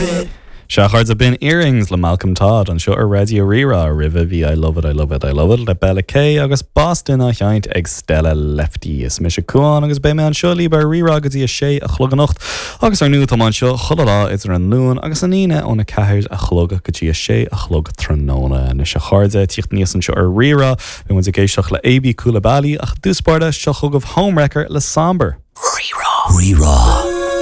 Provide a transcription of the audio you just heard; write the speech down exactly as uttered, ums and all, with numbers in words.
it. Sea a chairde b'in Earrings le Malcolm Todd anseo ar Raidió Rí-Rá roimhe bhí I love it, I love it, I love it le Bella K agus Boston á sheinnt ag Stella Lefty. Is mise Cuán agus beidh mé anseo libh ar Rí-Rá go dtí a sé a chlog anocht agus ar ndóigh tá anseo chuile lá idir an Luan agus an Aoine óna ceathair a chlog go dtí a sé a chlog tráthnóna. Anois a chairde tíocht aníos anseo ar Rí-Rá beidh muid ag éisteacht le AB Coulibaly ach dúspáda seo chugaibh Homewrecker le Samber. Rí-Rá. Rí-Rá.